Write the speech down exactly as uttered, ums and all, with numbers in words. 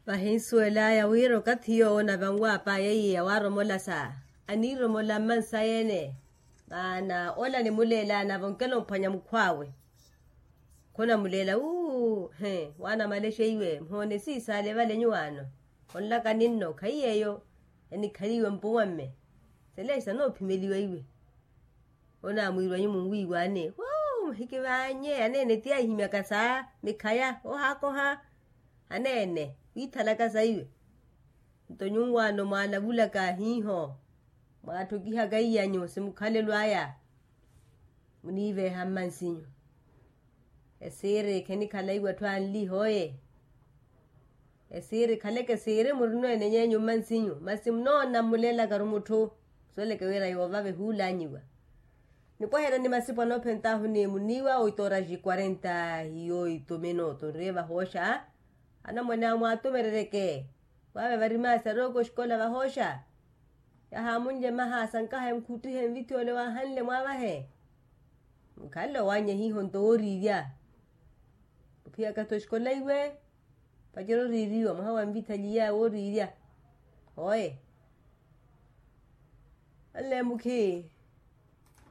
Vahinsuwel'aya wira okathi yoowo navanwaap'aya iye yawaaromolasa aniiromola mmansayi-ene. Maana ola nimuleelaana vonkela omphwanya mukhw'awe. Khonamuleela uu he waana malexeiwe muhoone siisale vale nyuwaano. Onlaka ninno khaiy'eyo enikhaliwe mpuwamme. Selexa noophimeliwa iwe. Onaamwiirwanyu munwiiwaane wuu muhikivaanye aneene ti aihimyaka saa mikhaya ohaakoha. Aneene wiithalaka saiwe. Nto nyuwaano mwaalavulaka hiiho mwaatthokiha kaiy'anyu simukhalelo aya. Muniiveeha mmansinyu. Esiiri khenikhala iwe atthu anli hooye. Esiiri khaleke siiri murino enenyenyu mmansinyu masi munoona mmulelakaru mutthu. Khusoleke wira yoovava ehuulanyiwa. Nipwaherya ni masipo anoophent'ahu ni muniiwa oitoora ji quarenta hiyo itumino tunriye vahooxa. Anamwane awo mwaatumerereke. Waave vari maasi arooko oxikola vahooxa. Yahaamunlye maha sankaha enkhutthihe nvithi ole waahanle mwaavahe. Mukhanle owaanya hiiho nto wooriirya. Ophiya kathi oxikola iwe. Pacera oriiriwa mwaha wa nvitha liya wooriirya. Oye. Anle mukhi.